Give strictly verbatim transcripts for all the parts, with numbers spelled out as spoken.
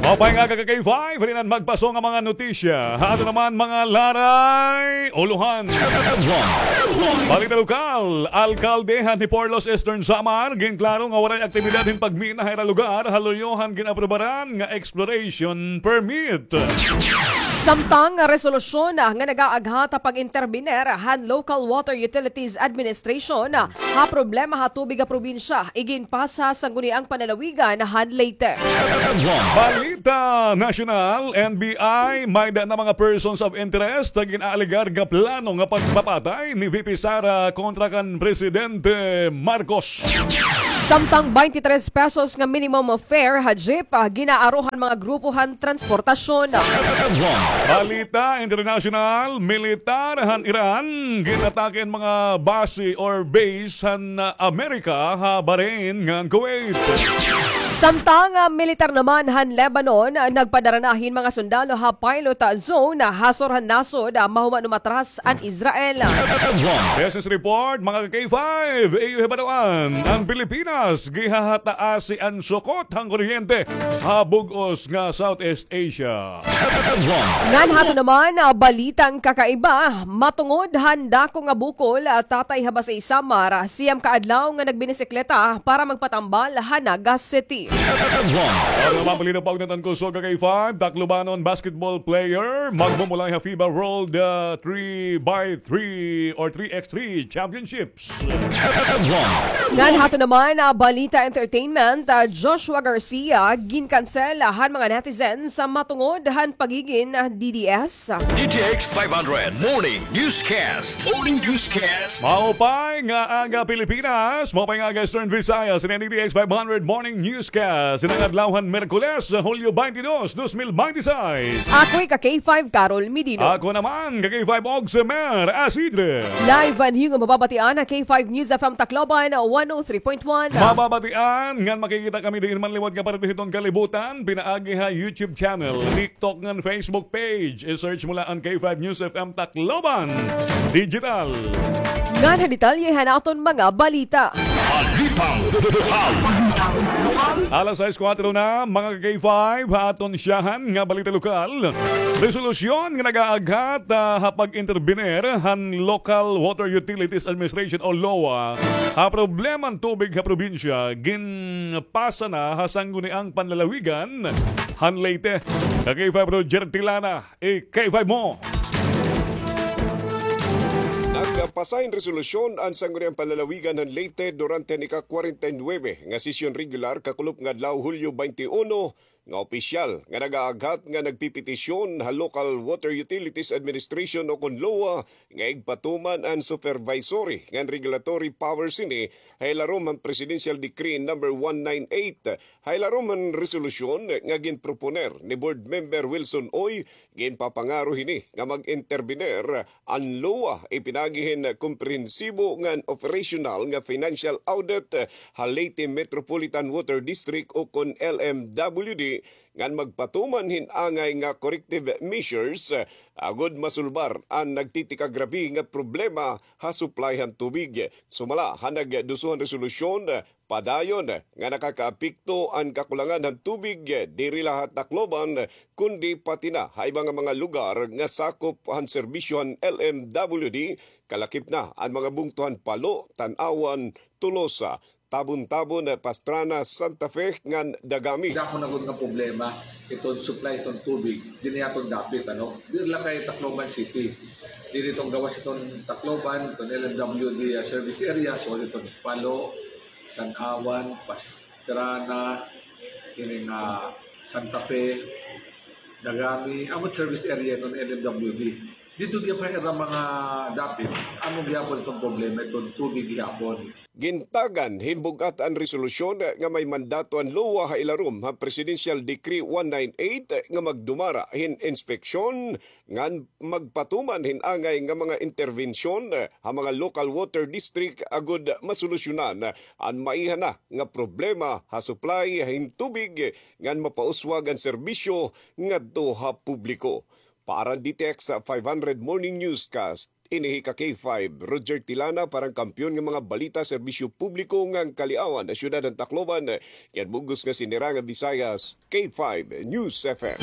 Maupay nga aga ka K five, halinan magpaso nga mga notisya. Ha aton naman mga laray, ulohan. Balita lokal, alkalde han Hiporlos, Eastern Samar, ginklaro nga waray aktibidad hin pagmina ha ira lugar, ha luyo han gin-aprobaran nga exploration permit. Samtang nga resolusyon nga nag-aaghat ha pag-interbiner han Local Water Utilities Administration ha problema ha tubig ha probinsya, iginpasa sa Sangguniang Panlalawigan han Leyte. Balita nasyonal, N B I, may-ada na mga persons of interest nga gin-aalegar nga plano nga pagpapatay ni V P Sara kontra kan Presidente Marcos. Samtang twenty-three pesos nga minimum fare ha jeep, ah, gin-aaro han mga grupo han transportasyon. Balita internasyonal, militar han Iran, gin-atake an mga base or base han, ah, Amerika ha Bahrain ngan Kuwait. Samtang, ah, militar naman han Lebanon, ah, nagpadara na hin mga sundalo ha pilot, ah, zone, ah, ha sur han nasod, ah, mahuman umatras an Israel. Business report, mga K five, iyo hibaroan, an Pilipinas gihahataasi an sukot han kuryente ha bug-os nga Southeast Asia. Ngan ha aton naman, ah, balitang kakaiba, matungod han dako nga bukol, ah, tatay ha Basey, Samar, ah, siyam ka adlaw nga nagbinisikleta para magpatambal ha Naga City. Aron naman balita pa ugnayan han kusog, K five, Taclobanon basketball player magmumulay ha FIBA World, ah, three by three or three x three Championship. Ngan ha aton naman, ah, balita entertainment, ah, Joshua Garcia, ginkansela han mga netizens sa matungod han pagigin, ah, D D S. D T X five hundred Morning Newscast. Morning Newscast. Maupay nga aga, Pilipinas. Maupay nga aga, Eastern Visayas. Ini an D T X five hundred Morning Newscast. Ini an adlaw han Miyerkules, Hulyo twenty-two, dos mil binte y seis. Ako hi ka K five, Carol Medino. Ako naman, ka K five, Ogsemer Asidre. Live an iyo nga mababatian ha K five News F M Tacloban, one oh three point one. Mababatian ngan makikita kami diin man liwat nga parte hiton kalibutan, pinaagi ha YouTube channel, TikTok ngan Facebook page. I-search mo la an K five News F M Tacloban Digital. Ngan ha detalye han aton mga balita. Balitang lokal. Alas sais kuwatro na, mga ka-K five, ha aton syahan nga balita lokal. Resolusyon nga nag-aaghat, ah, ha pag-interbiner han Local Water Utilities Administration o lowa ha problema han tubig ha probinsya ginpasa na ha Sangguniang Panlalawigan han Leyte. Ka-K five, Roger Tilana, i-K five mo. Nagpasa hin resolusyon an Sangguniang Panlalawigan han Leyte durante han ika-kwarenta y nuwebe nga sesyon regular kakulop nga adlaw, Hulyo baynte uno, nga opisyal nga nag-aaghat nga nagpepetisyon ha Local Water Utilities Administration o kon lowa nga igpatuman an supervisory ngan regulatory powers hini ha ilarom han Presidential Decree number one nine eight. Ha ilarom han resolusyon nga ginproponer ni Board Member Wilson Uy, ginpapangaro hini nga mag-interbiner an lowa ipinaagi hin komprehensibo ngan operasyonal nga financial audit ha Leyte Metropolitan Water District o kon L M W D, ngan magpatuman hin angay nga corrective measures, ah, agod masulbar an nagtitikagrabe nga problema ha supply han tubig. Sumala ha nagduso han resolusyon, padayon nga nakakaapekto an kakulangan han tubig diri la ha Tacloban, kundi pati na ha iba nga mga lugar nga sakop han serbisyo han L M W D, kalakip na an mga bungto han Palo, Tanauan, Tolosa, Tabon-Tabon, Pastrana, Santa Fe, ngan Dagami. Dako na gud nga problema iton supply iton tubig dinhi ha aton dapit, ano? Diri la kay Tacloban City. Diri iton gawas iton Tacloban, iton L M W D, ah, service area, so iton Palo, Tanauan, Pastrana, ini nga Santa Fe, Dagami, amo it service area iton L M W D. Didto gihap ha ira mga dapit, amo gihapon iton problema iton tubig gihapon. Gintagan hin bug-at an resolusyon nga may mandato an lowa ha ilarom han Presidential Decree one nine eight nga magdumara hin inspeksyon ngan magpatuman hin angay nga mga interbensyon ha mga local water district agod masolusyonan an maiha na nga problema ha supply hin tubig ngan mapauswag an serbisyo ngadto ha publiko. Para han D T X five hundred Morning Newscast, Ini hi ka K five, Roger Tilana, para han kampiyon nga mga balita, serbisyo publiko ngan kaliawan ha siyudad han Tacloban. Ngan bug-os nga sinirangan Visayas, K five News F M.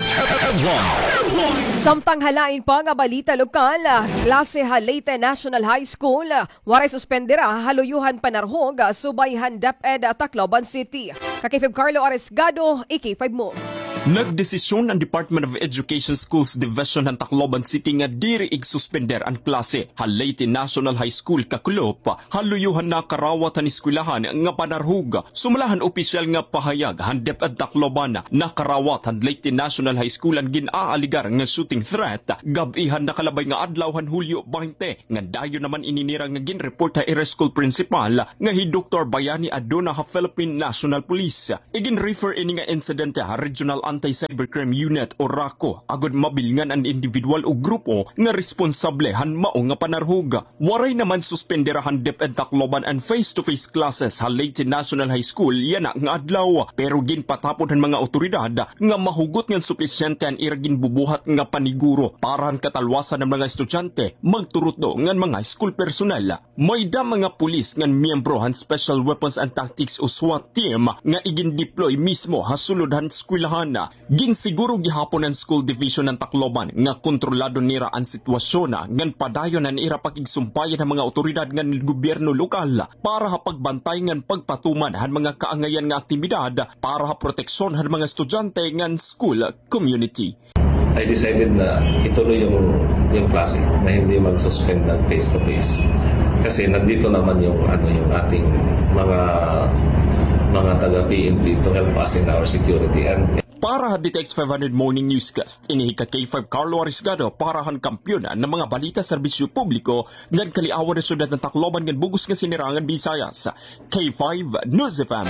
Samtang ha lain pa nga balita lokal, klase ha Leyte National High School, waray suspendera ha luyo han panarhog, subay han DepEd Tacloban City. Ka K five Carlo Aresgado, i K five mo. Nagdesisyon an Department of Education Schools Division han Tacloban City nga diri igsuspender an klase ha Leyte National High School kakulop ha luyo han nakarawat han eskwelahan nga panarhog. Sumala han opisyal nga pahayag han DepEd Tacloban, nakarawat han Leyte National High School an gin-aaligar nga shooting threat gab-i han nakalabay nga adlaw han Hulyo baynte, nga dayon naman ini nira nga gin-report ha ira school principal nga hi Doktor Bayani Aduna ha Philippine National Police. Igin-refer ini nga insidente ha Regional Anti-Cybercrime Unit o RACU, agod mabilngan an individual o grupo nga responsable han mao nga panarhog. Waray naman suspendera han DepEd Tacloban an face-to-face classes ha Leyte National High School yana nga adlaw, pero ginpatapod han mga awtoridad nga mahugot ngan supisyente an ira ginbubuhat nga paniguro para han katalwasan han mga estudyante, magturutdo ngan mga school personnel. May-ada mga pulis ngan miyembro han Special Weapons and Tactics o SWAT team nga igin-deploy mismo ha sulod han eskwelahan. Ginsiguro gihapon han School Division han Tacloban nga kontrolado nira an sitwasyon ngan padayon an ira pakigsumpayan han mga awtoridad ngan gobyerno lokal para ha pagbantay ngan pagpatuman han mga kaangayan nga aktibidad para ha proteksyon han mga estudyante ngan school community. I decided na ituloy yung, yung klase, na hindi mag-suspend ng face-to-face. Kasi nandito naman yung, ano, yung ating mga, mga taga-P N P to help us in our security. And Para ha D T X five hundred Morning Newscast, ini hi ka K five Carlo Arisgado para han kampiyon nga mga balita, serbisyo publiko, ngan kaliawan ha siyudad han Tacloban ngan bug-os nga sinirangan Visayas. K five News F M.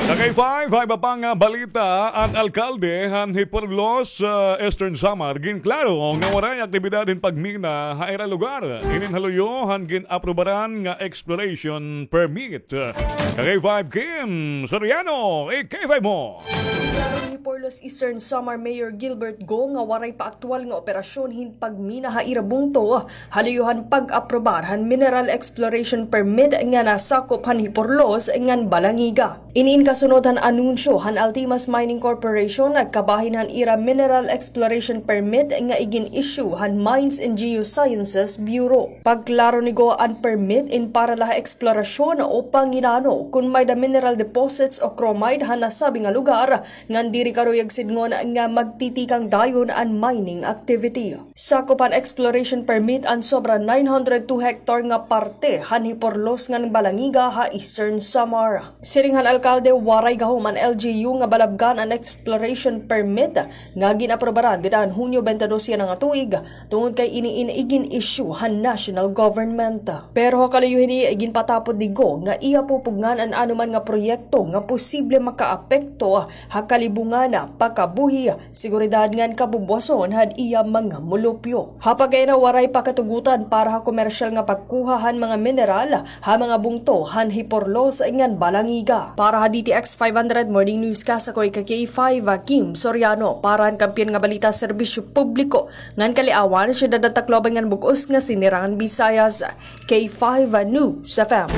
Ka K five, ha iba pa nga balita, an alkalde han Giporlos, ah, Eastern Samar, ginklaro nga waray aktibidad hin pagmina ha ira lugar. Inin ha luyo han gin-aprobaran nga exploration permit. Ka K five Kim Soriano, i K five mo. Ginklaro ni Giporlos Eastern Samar Mayor Gilbert Go nga waray pa aktuwal nga operasyon hin pagmina ha ira bungto ha luyo han pag-aprobar han mineral exploration permit nga nasakop han Giporlos ngan Balangiga. Inin kasunod han anunsyo han Altimas Mining Corporation nga kabahin han ira mineral exploration permit nga igin-issue han Mines and Geosciences Bureau. Pagklaro ni Go, an permit in para la ha eksplorasyon o panginano kon may-ada mineral deposits o chromite han nasabi nga lugar, ngan diri karuyag sidngon nga magtitikang dayon an mining activity. Sakop han exploration permit an sobra nine hundred two hectare nga parte han Giporlos ngan Balangiga ha Eastern Samar. Siring han alkalde, waray gahom an L G U nga balabgan an exploration permit nga gin-aprobaran dida han Hunyo twenty-two yana nga tuig, tungod kay ini in igin-issue han national government. Pero ha kaluyo hini, iginpatapod ni Go nga iya pupugngan an anoman nga proyekto nga posible makaapekto ha kalibungan, pakabuhi, seguridad ngan kabubwason han iya mga mulupyo. Ha pagkaina, waray pa katugutan para ha komersyal nga pagkuha han mga mineral ha mga bungto han Giporlos ngan Balangiga. Para ha D T X five hundred Morning Newscast, ako hi ka K five, Kim Soriano, para han kampiyon nga balita, serbisyo publiko ngan kaliawan, siyudad han Tacloban ngan bug-os nga sinirangan Visayas. K five News F M.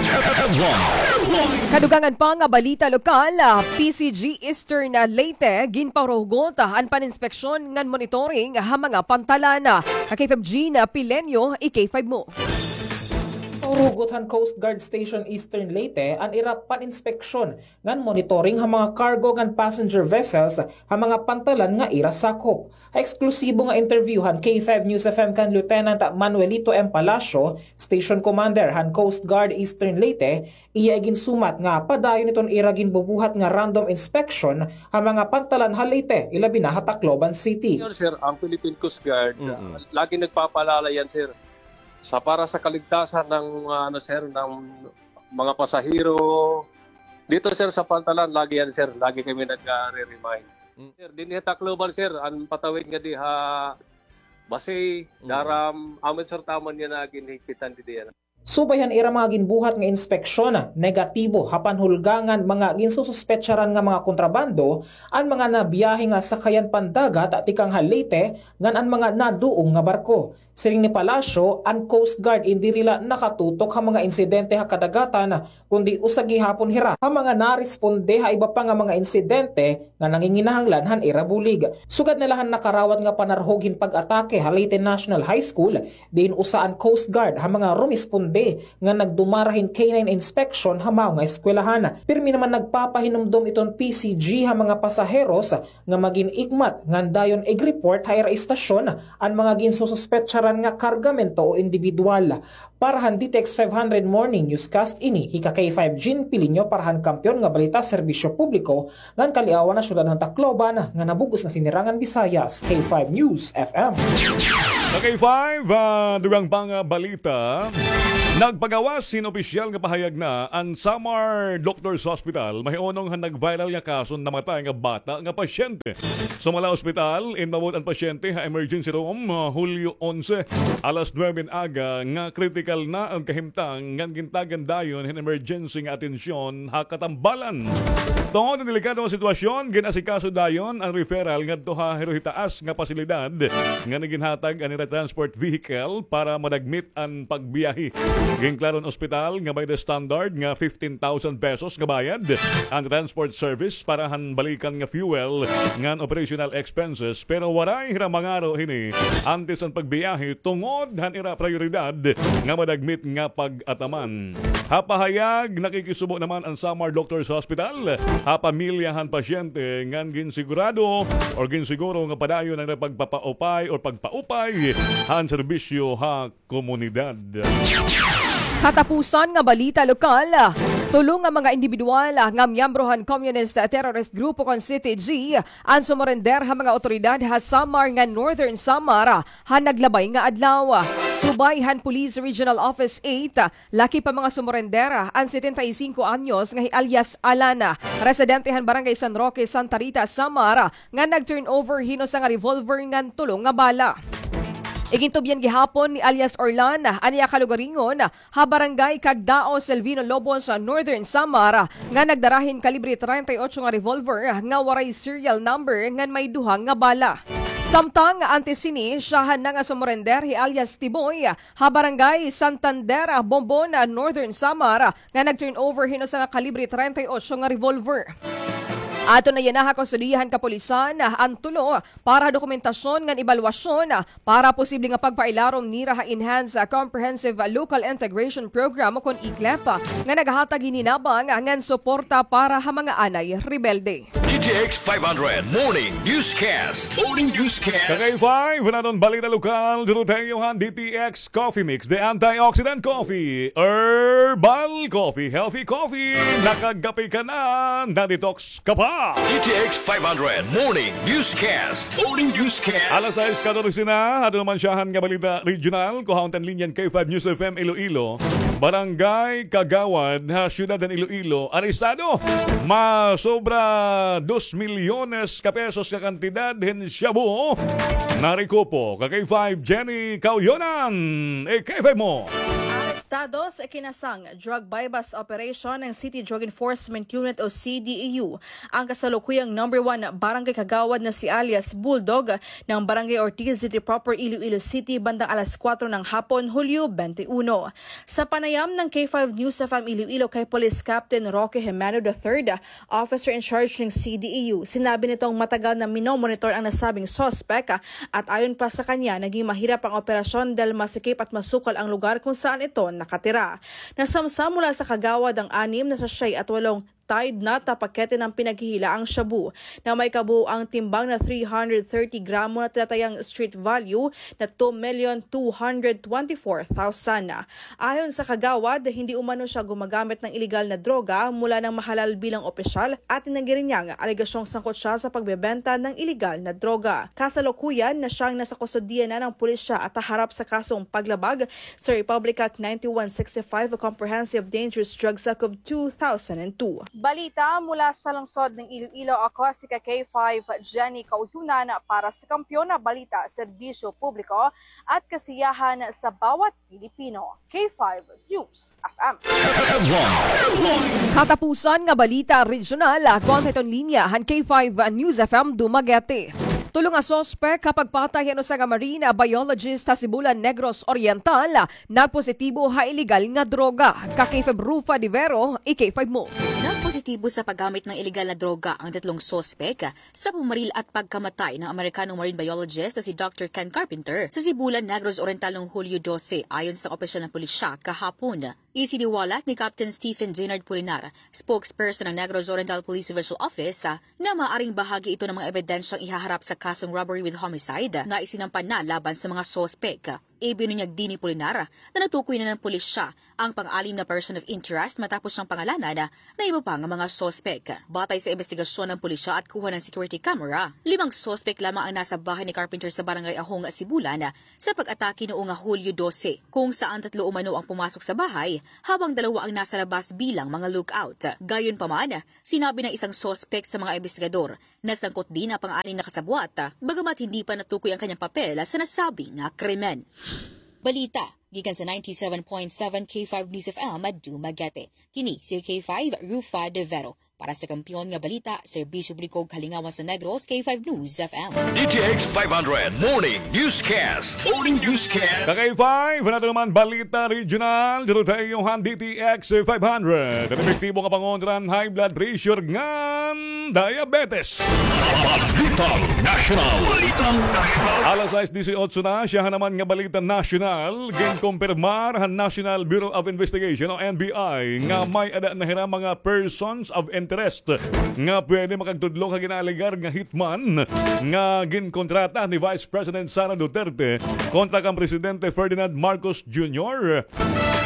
Kadugangan pa nga balita lokal, P C G Eastern Leyte ginpahurugot an paninspeksyon ngan monitoring ha mga pantalan. Ka K five Jean Pileño, i K five mo. Pahurugot han Coast Guard Station Eastern Leyte an ira paninspeksyon ngan monitoring ha mga cargo ngan passenger vessels ha mga pantalan nga ira sakop. Ha eksklusibo nga interview han K five News F M kan Lieutenant Manuelito M. Palacio, Station Commander han Coast Guard Eastern Leyte, iya iginsumat nga padayon iton ira ginbubuhat nga random inspection ha mga pantalan ha Leyte, ilabi na ha Tacloban City. Sir, sir, ang Philippine Coast Guard, ah, lagi nagpapaalala yan, sir. Sa, para sa kaligtasan ng, ah, ano, sir, ng mga pasahero. Dito, sir, sa pantalan, lagi yan, sir. Lagi kami nagre-remind. Sir, dinhi ha Tacloban, sir, an patawid nga dinhi ha Basi, Daram, amin, sir, taman niya na ginhigpitan didi yan. Subay han ira mga ginbuhat nga inspeksyon, negatibo ha panhulga ngan mga ginsususpetsaran nga mga kontrabando an mga nabiyahe nga sakayan pandagat tikang ha Leyte ngan an mga naduong nga barko. Siring ni Palacio, an Coast Guard indi hira nakatutok ha mga insidente ha kadagatan, kundi usa gihapon hira ha mga naresponde ha iba pa nga mga insidente nga nanginginahanglan han ira bulig. Sugad na la han nakarawat nga panarhog hin pag-atake ha Leyte National High School, diin usa an Coast Guard ha mga rumisponde nga nagdumara hin K nine inspection ha mao nga eskwelahan. Pirmi naman nagpapahinumdom iton P C G ha mga pasaheros nga magin igmat ngan dayon ig-report ha ira istasyon an mga ginsususpetsaran nga kargamento o indibidwal. Para han D T X five hundred Morning Newscast, ini hi ka K five Jean Pilinyo para han Kampiyon nga Balita Serbisyo Publiko ngan Kaliawan ha Syudad han Tacloban nga nabug-os nga sinirangan Bisayas, K five News F M. Ka K five, ah, dugang pa nga balita. Nagpagawas hin opisyal nga pahayag na an Samar Doctors Hospital, mahiunong han nag-viral nga kaso namatay nga bata nga pasyente. Sumala ospital, inmabot an pasyente ha emergency room, ah, Hulyo onse, alas nuwebe hin aga, nga kritikal na an kahimtang, ngan gintagan dayon hin emergency nga atensyon ha Katambalan. Tungod han delikado nga sitwasyon, gin-asikaso dayon an referral ngadto ha hiruhitaas nga pasilidad, ngan iginhatag an ira transport vehicle para madagmit an pagbiyahe. Ginklaro han ospital nga may-da standard nga fifteen thousand pesos nga bayad an transport service para han balikan nga fuel ngan operational expenses, pero waray hira mangaro hini antes han pagbiyahe tungod han ira prayoridad nga madagmit nga pag-ataman. Ha pahayag, nakikisubo naman an Samar Doctors Hospital ha pamilya han pasyente ngan ginsigurado or ginsiguro nga padayon an pagpapaupay or pagpaupay han serbisyo ha komunidad. Katapusan nga balita lokal, tulo nga mga indibidwal nga miyembro han Communist Terrorist Group kon C T G an sumurender ha mga awtoridad ha Samar ngan Northern Samar ha naglabay nga adlaw. Subay han Police Regional Office eight, laki pa mga sumurender an setenta y cinco anyos nga hi alias Alan, residente han Barangay San Roque, Santa Rita, Samar, nga nag-turnover hin usa nga revolver ngan tulo nga bala. Igintubyan gihapon ni alias Orlan an iya kalugaringon ha Barangay Cagdao, Selvino Lobos, Northern Samar, nga nagdara hin kalibre treinta y ocho nga revolver nga waray serial number ngan may duha nga bala. Samtang antes sini, syahan na nga sumurender hi alias Tiboy ha Barangay Santander, Bombon, Northern Samar, nga nag-turnover hin usa nga kalibre treinta y ocho nga revolver. Aton na yana ha kustodiya han kapulisan an tulo para dokumentasyon ngan ebalwasyon para posible nga pagpailarom nira ha Enhanced Comprehensive Local Integration Program o kon E-CLIP nga naghatag hin hinabang ngan suporta para ha mga anay rebelde. D T X five hundred Morning Newscast. Morning Newscast. Ka K five, an aton balita lokal, duro tayo han D T X Coffee Mix, the antioxidant coffee, herbal coffee, healthy coffee. Nakagapi ka na, na-detox ka pa. D T X five hundred Morning Newscast. Morning Newscast. Alas sais katorse na, aton naman syahan nga balita regional, kuhaon ta an linya han K five News F M Iloilo. Barangay Kagawad ha siyudad han Iloilo, arestado. Masobra dos milyones ka pesos ka kantidad hin shabu. Narekupo ka K five Jenny Kauyonan. E K five mo. Arestado sa ikinasang drug buy-bust operation ng City Drug Enforcement Unit o C D E U ang kasalukuyang number one barangay kagawad na si alias Bulldog ng Barangay Ortiz City Proper, Iloilo City, bandang alas kuwatro ng hapon, Hulyo twenty-one. Sa panayam ng K five News F M Iloilo kay Police Captain Roque Jimeno the third, officer in charge ng C D E U, sinabi nitong matagal na minomonitor ang nasabing suspek at ayon pa sa kanya, naging mahirap ang operasyon dahil masikip at masukal ang lugar kung saan ito nakatira. Nasamsam mula sa kagawad ang anim na sachet at walong Tide nut na pakete ng pinaghihilaang shabu na may kabuuang timbang na three hundred thirty gramo na tinatayang street value na two million two hundred twenty-four thousand. Ayon sa kagawad, hindi umano siya gumagamit ng iligal na droga mula nang mahalal bilang opisyal at tinanggi rin niya ang alegasyong sangkot siya sa pagbebenta ng iligal na droga. Kasalukuyan na siyang nasa kustodiya na ng pulisya at haharap sa kasong paglabag sa Republic Act ninety-one sixty-five o Comprehensive Dangerous Drugs Act of two thousand and two. Balita mula sa lungsod ng Iloilo, ako si K five Jenny Kautunan para sa Kampiyon na Balita, Serbisyo Publiko at Kasiyahan sa Bawat Pilipino. K five News F M. Katapusan nga balita regional, kontra iton linya han K five News F M Dumaguete. Tulo nga suspek ha pagpatay han usa nga marine biologist ha Sibulan, Negros Oriental, nagpositibo ha iligal nga droga. Ka K five Rufa de Vero, i K five mo. Nagpositibo sa paggamit ng iligal na droga ang tatlong suspek sa pumaril at pagkamatay ng Amerikanong marine biologist na si Doctor Ken Carpenter sa Sibulan, Negros Oriental noong Hulyo dose, ayon sa opisyal ng pulisya kahapon. Isiniwalat ni Captain Stephen Jaynard Pulinar, spokesperson ng Negros Oriental Police Divisional Office, ah, na maaring bahagi ito ng mga ebidensyang ihaharap sa kasong robbery with homicide na isinampa na laban sa mga suspek. Ibinunyag din ni Pulinar na natukoy na ng pulisya ang pang-anim na person of interest matapos siyang pangalanan na iba pa nga mga suspek. Batay sa imbestigasyon ng pulisya at kuha ng security camera, limang suspek lamang ang nasa bahay ni Carpenter sa Barangay Ahong, Sibulan, sa pag-atake noong Hulyo dose, kung saan tatlo umano ang pumasok sa bahay habang dalawa ang nasa labas bilang mga lookout. Gayunpaman, sinabi ng isang suspek sa mga imbestigador na sangkot din ang pang-anim na kasabwat, bagamat hindi pa natukoy ang kanyang papel sa nasabing krimen. Balita gikan sa ninety-seven point seven K five News F M Dumaguete. Kini si K five Rufa de Vero. Para sa Kampiyon nga Balita, Serbisyo Publiko, Kalingawan sa Negros, K five News F M. D T X five hundred Morning Newscast. Morning Newscast. Ka K five, nato naman balita regional, dito tayo han D T X five hundred. An epektibo nga pangontra han high blood pressure ngan diabetes. Balitang National. Balitang National. Alas sais disiotso na, siyahan naman nga balita nasyonal, ginkumpirmar han National Bureau of Investigation o N B I nga may-ada na hira mga persons of interest nga pwede makagtudlo ha ginaalegar nga hitman nga ginkontrata ni Vice President Sara Duterte kontra kan Presidente Ferdinand Marcos Junior.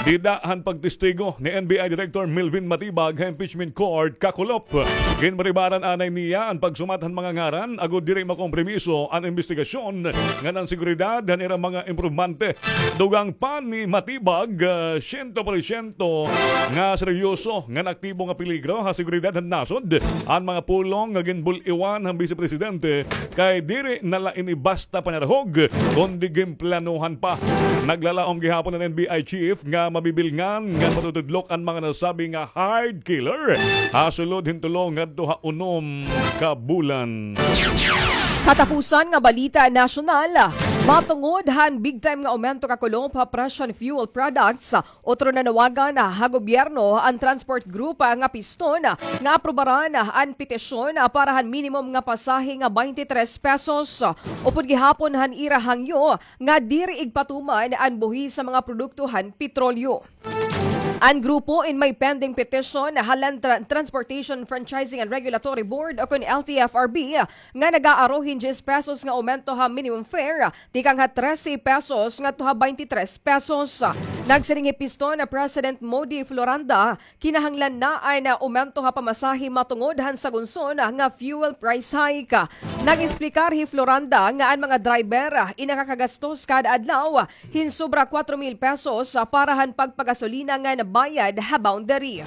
Dida han pagtestigo ni N B I Director Melvin Matibag ha impeachment court kakulop. Ginparibaran anay niya an pagsumat han mga ngaran agod diri makompromiso an imbestigasyon ngan an seguridad han ira mga impormante. Dugang pa ni Matibag, ah, siyento porsyento nga seryoso ngan aktibo nga peligro ha seguridad han nasod an mga pulong nga ginbul-iwan han Bise Presidente, kay diri na la ini basta panarahog, kundi ginplanohan pa. Naglalaom gihapon an N B I chief nga mabibilngan ngan matutudlok an mga nasabi nga hard killer ha sulod hin tulo ngadto ha unom ka bulan. Katapusan nga balita nasyonal, matungod han big time nga aumento kakulop ha presyo han fuel products, otro nanawagan ha gobyerno an transport group nga Piston nga aprobaran an petisyon para han minimum nga pasahe nga twenty-three pesos. Upod gihapon han ira hangyo nga diri igpatuman an buhis sa mga produkto han petrolyo. An grupo in may pending petition ha Land Tra-, Transportation Franchising and Regulatory Board o kun L T F R B nga nag-aaro hin diyes pesos nga aumento ha minimum fare tikang ha trese pesos ngadto ha twenty-three pesos. Nagsiring hi Piston President Modi Floranda, kinahanglan na an aumento ha pamasahe matungod han sagunson nga fuel price hike. Nag-eksplikar hi Floranda nga an mga driver in nakakagastos kada adlaw hin sobra kwatro mil pesos para han pagpagasolina ngan bayad ha boundary.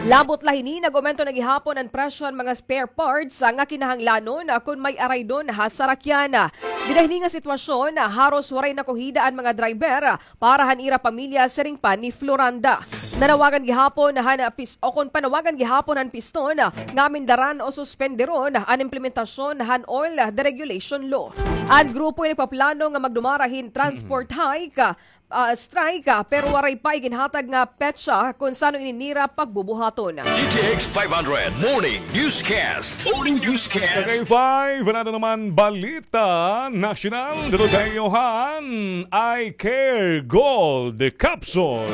Labot la hini, nag-aumento na gihapon an presyo han mga spare parts nga kinahanglanon kon may araydon ha sarakyan. Dida hini nga sitwasyon, haros waray nakuhida an mga driver para han ira pamilya, siring pa ni Floranda. Nanawagan gihapon han pis-, o kon panawagan gihapon han Piston nga amindaran o suspenderon an implementasyon han oil deregulation law. An grupo in nagpaplano nga magdumara hin transport hike, ah, strike, ah, pero waray pa iginhatag nga petsa kon san-o ini nira pagbubuhaton. D T X five hundred Morning Newscast. Morning Newscast. K five, nato naman balita nasyonal. Dito tayo han Eye Care Gold Capsule.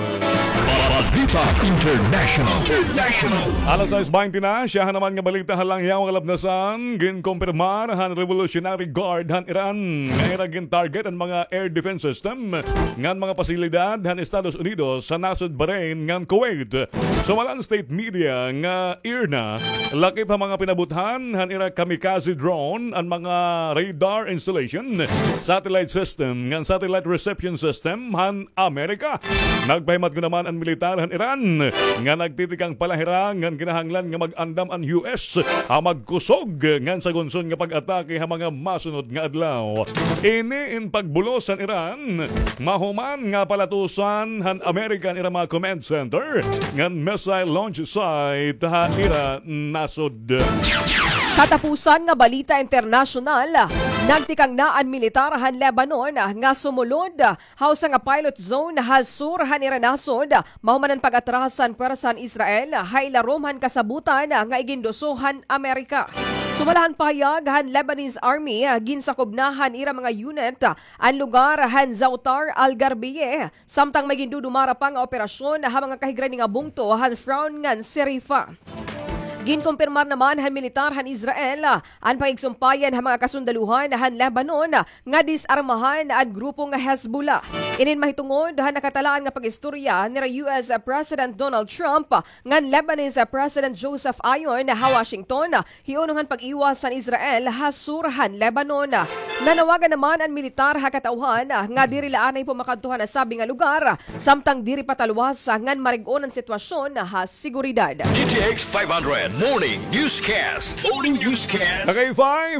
Balita International. International. Alas sais baynte na, siyahan naman nga balita ha langyaw nga kalapnasan, ginkumpirmar han Revolutionary Guard han Iran nga ira gintarget an mga air defense system ngan pasilidad han Estados Unidos han nasod Bahrain ngan Kuwait. Sumala han state media nga IRNA, lakip ha mga pinabuthan han ira kamikaze drone an mga radar installation, satellite system ngan satellite reception system han Amerika. Nagpahimatgo naman an militar han Iran nga nagtitikang pa la hira ngan kinahanglan nga mag-andam an U S ha magkusog ngan sagunson nga pag-atake ha mga masunod nga adlaw. Ini in pagbulos han Iran mahuman nga palatusan han Amerika an ira mga command center ngan missile launch site ha ira nasod. Katapusan nga balita internasyonal, nagtikang na an militar han Lebanon nga sumulod ha usa nga pilot zone ha sur han ira nasod, mahuman an pag-atras han pwersa han Israel ha ilarom han kasabotan nga iginduso han Amerika. Sumala han pahayag han Lebanese Army, ginsakob na han ira mga unit an lugar han Zautar al-Gharbiyeh, samtang may gindudumara pa nga operasyon ha mga kahigran nga bungto han Frown ngan Sirifa. Ginkumpirmar naman han militar han Israel an pakigsumpayan han mga kasundaluhan han Lebanon nga disarmahan an grupo nga Hezbollah. Inin mahitungod han nakatalaan nga pag-istorya nira U S President Donald Trump ngan Lebanese President Joseph Aoun ha Washington, hiunong han pag-iwas han Israel ha sur han Lebanon. Nanawagan naman an militar ha katawhan nga diri la anay pumakadto ha nasabi nga lugar, samtang diri pataluwas ngan marig-on an sitwasyon ha seguridad. D T X five hundred Morning Newscast. Morning Newscast. Okay, five,